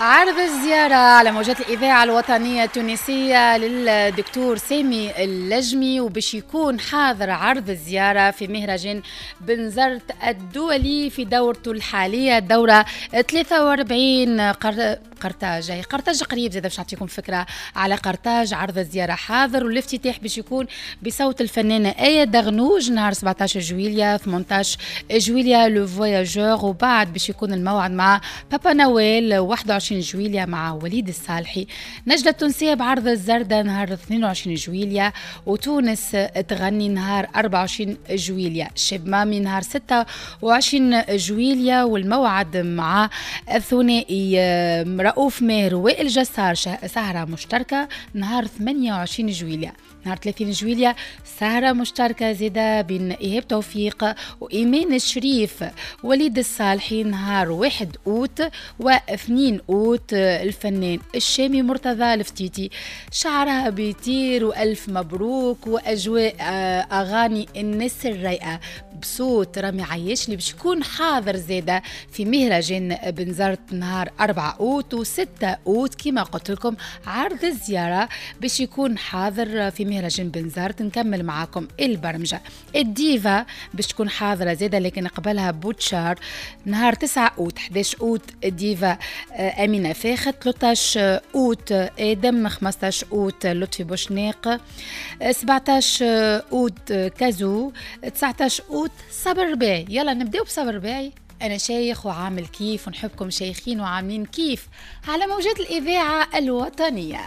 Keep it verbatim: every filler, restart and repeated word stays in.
عرض الزيارة على موجات الإذاعة الوطنية التونسية للدكتور سامي اللجمي، وباش يكون حاضر عرض الزيارة في مهرجان بنزرت الدولي في دورته الحالية، الدورة ثلاثة وأربعين. قر... قرطاج، هي قرطاج قريب زاد باش نعطيكم فكرة على قرطاج. عرض الزيارة حاضر، والافتتاح باش يكون بصوت الفنانة آية دغنوج نهار سبعطاش جويليا، ثمنطاش جويليا le voyageur، وبعد باش يكون الموعد مع بابا نويل واحد وعشرين جويليا مع وليد الصالحي. نجلة التونسية بعرض الزردة نهار اثنين وعشرين جويليا، وتونس تغني نهار أربعة وعشرين جويليا، شاب مامي نهار ستة وعشرين جويليا، والموعد مع الثنائي رؤوف ماهر وائل جسار سهرة مشتركة نهار ثمانية وعشرين جويليا. نهار ثلاثين جويليا سهرة مشتركة زادة بين إيهاب توفيق وإيمان الشريف، وليد الصالحي نهار واحد أوت واثنين أوت الفنان الشامي مرتضى الفتيتي، شعرها بيطير وألف مبروك، وأجواء أغاني الناس الرايقة بصوت رامي عياش اللي باش يكون حاضر زادة في مهرجان بنزرت نهار أربعة أوت وستة أوت. كما قلت لكم عرض الزيارة باش يكون حاضر في مهرجان بنزرت. نكمل معاكم البرمجة. الديفا باش تكون حاضرة زادة، لكن قبلها بوتشار نهار تسعة أوت، إحداش أوت الديفا أمينة فاخت، ثلاثطاش أوت آدم، خمسطاش أوت لطفي بوشناق، سبعطاش أوت كازو، تسعطاش أوت صبر رباعي. يلا نبداو بصبر رباعي. أنا شيخ وعامل كيف، ونحبكم شيخين وعاملين كيف على موجات الإذاعة الوطنية.